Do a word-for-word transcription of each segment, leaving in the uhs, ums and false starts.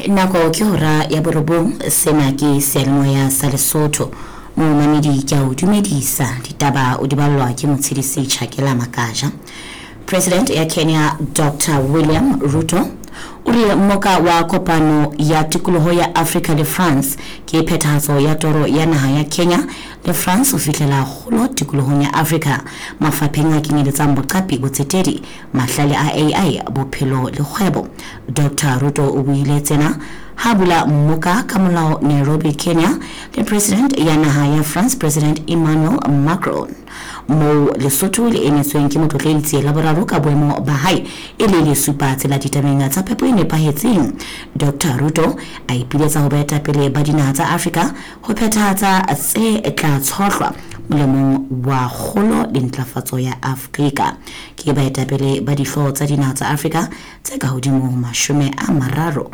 Nako ke hora ya borobong. Sena ke seyalemoya sa Lesotho. Momamedi, ke a o dumedisa. Ditaba o di ballwa ke Motshedisi Tjhakela Makaja. President ya Kenya Doctor William Ruto o re mmoka wa kopano ya tikoloho ya Africa le France ke phethahatso ya toro ya naha ya Kenya le France ho fihlela kgolo tikolohong ya Africa mafapheng a kenyeletsang boqapi, botsetedi, mahlale a A I, bophelo le kgwebo. Doctor Ruto o buile tsena ha bula mmoka ka molao Nairobi, Kenya le President ya naha ya France, President Emmanuel Macron, moo Lesotho le emetsweng ke Motlotledi la boraro ka boemo ba hae e le lesupa tsela ditabeng tsa phepo e nepahetseng. Doctor Ruto a ipiletsa ho baetapele ba dinaha tsa Afrika ho phethahatsa tse tla tshohlwa molemong wa kgolo le ntlafatso ya Afrika. Ke baetapele ba dihlooho tsa dinaha tsa Afrika tse ka hodimo ho mashome a mararo,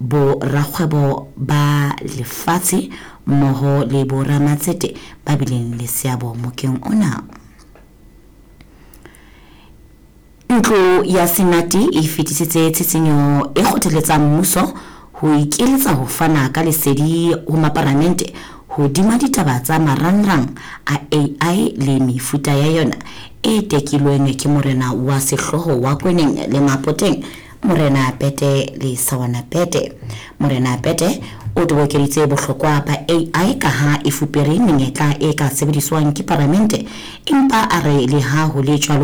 borakgwebo ba lefatshe mmoho le boramatsete ba bileng le seabo mokeng ona. Ntlo ya Senate e fetisitse tshitshinyo e kgothaletsang mmuso ho ikeletsa ho fana ka lesedi ho maparamente hodima ditaba tsa marangrang a A I le mefuta ya yona, e tekilweng ke morena wa sehlooho wa Kweneng le Mapoteng, Morena Pete le Sawana Pete. Morena Pete o tobokeditse bohlokwa ba A I ka ha e fupere menyetla e ka sebediswang ke paramente, empa a re le ha ho le jwalo